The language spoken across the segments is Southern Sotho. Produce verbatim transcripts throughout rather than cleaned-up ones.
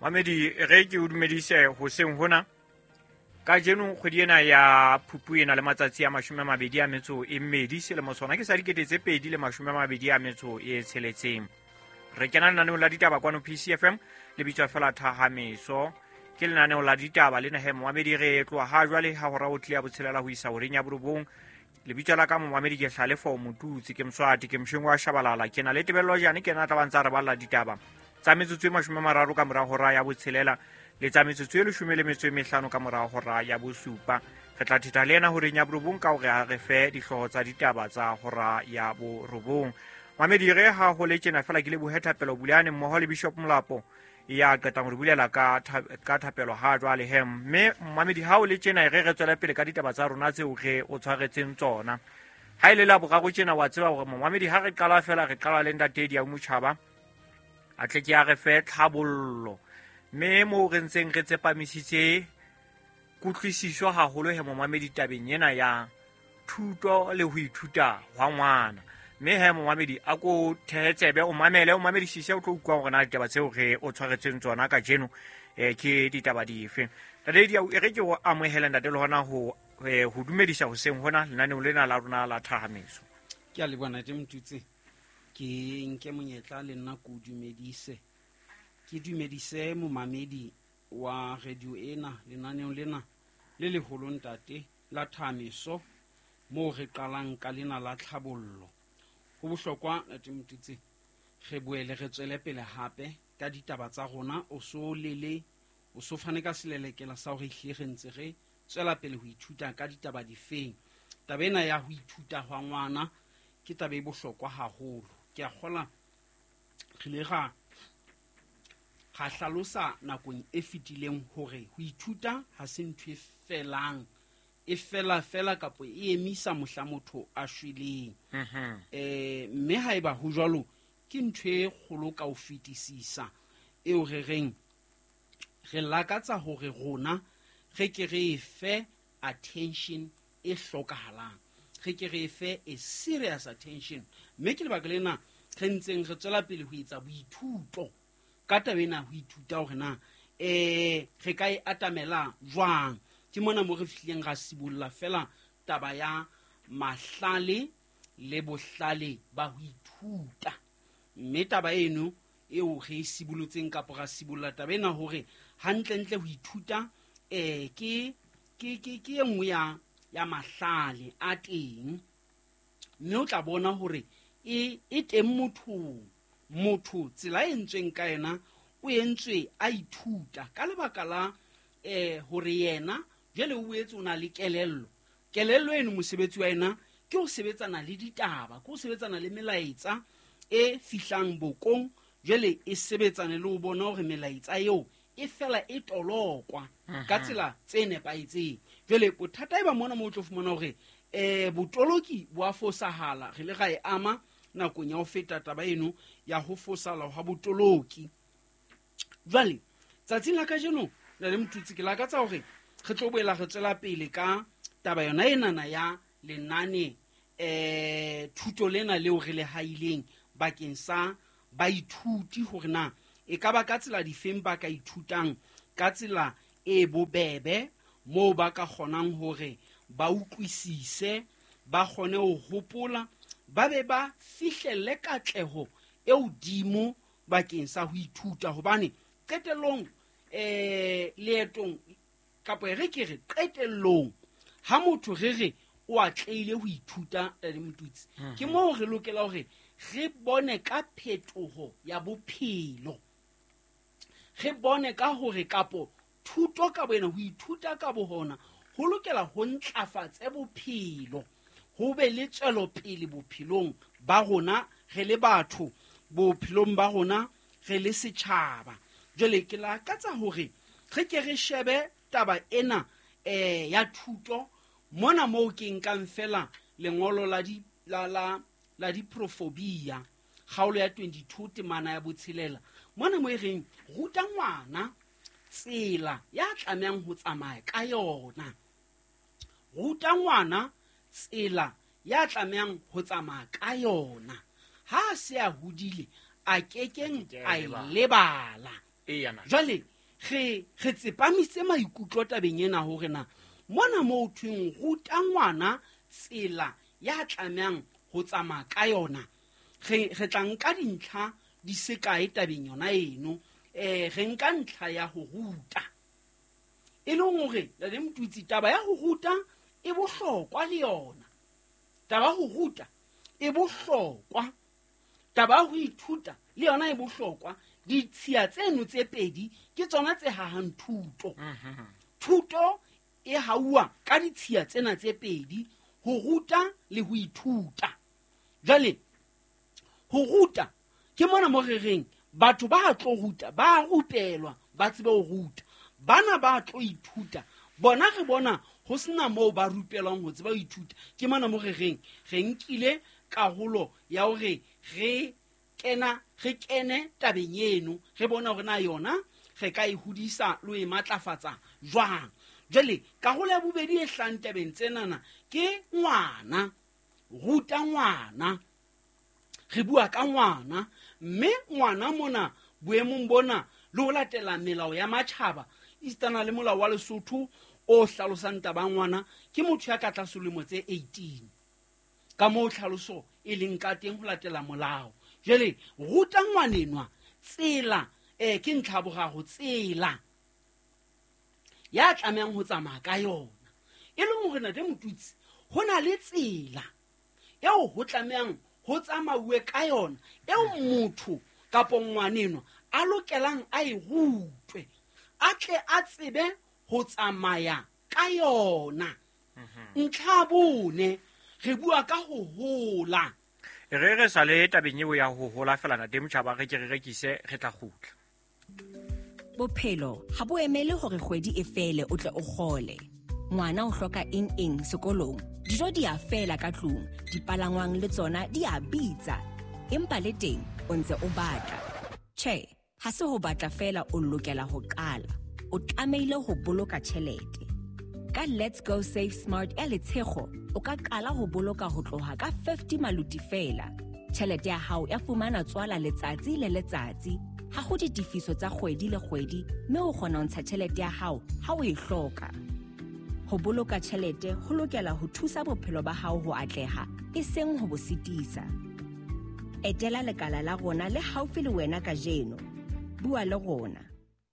Mamedi re ke o dumedise hoseng hona. Kajeno kgwedi ena ya Phupu ena le matsatsi a mashome a mabedi a metso e mmedi selemo sona ke sa dikete tse pedi le mashome a mabedi a metso e tsheletseng. Re kena lenaneong la ditaba kwano P C F M le bitswa fela Thahameso. Ke lenaneo la ditaba le nahe momamedi re tloha ha jwale ha hora o tlile ya botshelela ho isa horeng ya borobong. Lebitso la ka momamedi ke Hlalefo Motutsi, ke Mswati, ke Mshweng wa Shabalala, ke na le Tebello Jane, ke na tla ba ntsa re balla ditaba tsa metsotso e mashome a mararo ka mora hora ya botshelela le tsa metsotso e leshome le metso e mehlano ka mora hora ya bosupa. Re tla thetha le yena horeng ya borobong ka hore a re fe dihlooho tsa ditaba tsa hora ya borobong. Mamedi re ha ho le tjena fela ke lebohe Thapelo Bulane mmoho le Bishop Molapo ya qetang ho re bulela ka ka thapelo ha jwale he. Mme mamedi ha o le tjena re re tswela pele ka ditaba tsa rona tseo re o tshwaretseng tsona. Ha ile la boraro tjena wa tseba hore mamedi ha re qala fela re qala le ntate Dia Motjhaba a tle ke a re fe tlhabollo. Mme moo re ntseng re tsepamisitse kutlwisiso haholo he momamedi tabeng ena ya thuto le ho ithuta hwa ngwana. Mme he momamedi a ko thehe tsebe o mamele o mamedisise o tlo utlwa hore na ditaba tseo re o tshwaretseng tsona kajeno eh ke ditaba dife. Ntate Dia, e re ke o amohele ntate le hona ho ho dumedisa hoseng hona lenaneong lena la rona la Thahameso. Ke a leboha ntate Motutsi. Ke nke monyetla le nna ko dumedise. Ke dumedise momamedi wa radio ena lenaneong lena le leholo ntate la Thahameso moo re qalang ka lena la tlhabollo. Ho bohlokwa ntate Motutsi re boele re tswele pele hape ka ditaba tsa rona. O so lele o so fane ka selelekela sa hore ehlile re ntse re tswela pele ho ithuta ka ditaba difeng. Taba ena ya ho ithuta hwa ngwana ke taba e bohlokwa haholo. Ke a kgola re ile ra ra hlalosa nakong e fetileng hore ho ithuta ha se ntho e felang, e fela fela kapo e emisa mohla motho a shweleng. Mhm. Eh mme haeba ho jwalo ke ntho e kgolo ka ho fetisisa eo re reng re lakatsa hore rona re ke re fe attention e hlokahalang, re ke re fe a serious attention. Mme ke lebaka lena re ntseng re tswela pele ho etsa boithuto ka taba ena, ho ithuta hore na eh re ka e atamela jwang. Ke mona mo re fihlileng ra sibolla fela taba ya mahlale le bohlale ba ho ithuta. Mme taba eno eo re e sibolotseng kapa ra sibolla taba ena hore hantlentle ho ithuta eh ke ke ke ke e nngwe ya ya mahlale a teng. Mme o tla bona hore e e teng mothong. Motho tsela e entsweng ka yena o entswe a ithuta ka lebaka la eh hore yena jwale o boetse o na le kelello. Kelello eno mosebetsi wa yena ke ho sebetsana le ditaba, ke ho sebetsana le melaetsa e fihlang bokong, jwale e sebetsane le ho bona hore melaetsa eo e fela e tolokwa ka tsela tse nepahetseng. Jwale bothata e ba mona moo o tlo fumana hore eh botoloki bo a fosahala. Re le ra e ama nakong ya ho feta taba eno ya ho fosala ha botoloki. Jwale tsatsing la kajeno na le Motutsi ke lakatsa hore re tlo boela re tswela pele ka taba yona enana ya lenane eh thuto lena leo re le haileng bakeng sa baithuti, hore na e ka ba ka tsela difeng ba ka ithutang ka tsela e bobebe moo ba ka kgonang hore ba utlwisise, ba kgone ho hopola, ba be ba fihlelle katleho e hodimo bakeng sa ho ithuta. Hobane qetellong eh leetong kapa re ke re qetellong ha motho re re o atlehile ho ithuta le Motutsi, ke moo re lokela hore re bone ka phetoho ya bophelo, re bone ka hore kapo thuto ka boyena, ho ithuta ka bohona ho lokela ho ntlafatse bophelo, ho be le tswelopele bophelong ba rona re le batho, bophelong ba rona re le setjhaba. Jwale ke lakatsa hore re ke re shebe taba ena eh ya thuto mona moo ke nkang fela lengolo la di la la la diprofobia kgaolo ya twenty-two temana ya botshelela, mona mo e reng ruta ngwana tsela ya tlamehang ho tsamaya ka yona. Ruta ngwana tsela ya tlamehang ho tsamaya ka yona. Ha se a hodile a kekeng a e lebala. Eya na. Jwale re re tsepamise maikutlo tabeng ena hore na mona mo thweng ruta ngwana tsela ya tlamehang ho tsamaya ka yona, re re tla nka dintlha di se kae tabeng yona eno. Eh re nka ntlha ya ho ruta, e leng hore le Motutsi taba ya ho ruta e bohlokwa le yona. Taba ho ruta e bohlokwa, taba ho ithuta le yona e bohlokwa. Ditshiya tseno tse pedi ke tsona tse hahang thuto. Thuto e hauwa ka ditshiya tsena tse pedi, ho ruta le ho ithuta. Jwale ho ruta ke mona mo re reng batho ba tlo ruta ba rupelwa ba tsebe ho ruta, bana ba tlo ithuta bona re bona ho sena moo ba rupelwang ho tseba ho ithuta. Ke mona mo re reng re nkile karolo ya hore re kena re kene tabeng eno, re bona hore na yona re ka e hodisa le ho e matlafatsa jwang. Jwale karolo ya bobedi e hlang tabeng tsenana ke ngwana, ruta ngwana. Re bua ka ngwana, mme ngwana mona boemong bona le ho latela melao ya matjhaba esitana le molao wa Lesotho o hlalosang taba ya ngwana ke motho ya ka tlase lemo tse eighteen, ka moo tlhaloso e leng ka teng ho latela molao. Jwale ruta ngwanenwa tsela, eh ke ntlha boraro, tsela ya tlamehang ho tsamaya ka yona. E leng hore ntate Motutsi ho na le tsela eo ho tlamehang ho tsamauwe ka yona, eo motho kapa ngwanenwa a lokelang a e rutwe, a tle a tsebe ho tsamaya ka yona. Ntlha bone re bua ka ho hola. Re re sale tabeng eo ya ho hola fela ntate Motjhaba, re ke re rekise re tla kgutla. Bophelo ha bo emele hore kgwedi e fele o tle o kgole. Ngwana o hloka eng eng sekolong, dijo di a fela ka tlung, dipalangwang le tsona di a bitsa, empa le teng o ntse o batla. Tjhe, ha se ho batla fela o lokela ho qala, o tlamehile ho boloka tjhelete. Ka Let's Go Save Smart ya Letshego, o ka qala ho boloka ho tloha ka fifty maluti fela. Tjhelete ya hao ya fumana tswala letsatsi le letsatsi. Ha ho ditefiso tsa kgwedi le kgwedi, mme o kgona ho ntsha tjhelete ya hao ha o e hloka. Ho boloka tjhelete ho lokela ho thusa bophelo ba hao ho atleha, e seng ho bo sitisa. Etela lekala la rona le haufi le wena kajeno. Bua le rona.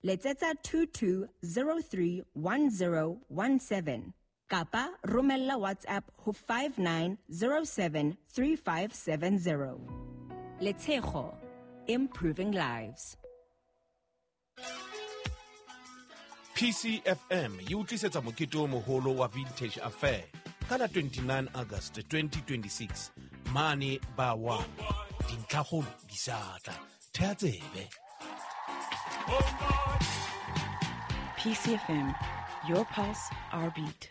Letsetsa two two zero three one zero one seven kapa romella WhatsApp ho five nine zero seven three five seven zero. Letshego, improving lives. P C F M e utlwisetsa mokete o moholo wa Vintage Affair ka la twenty-nine August twenty twenty-six mane ba wa dintlhakgolo di sa tla. Thea tsebe. P C F M, your pulse, our beat.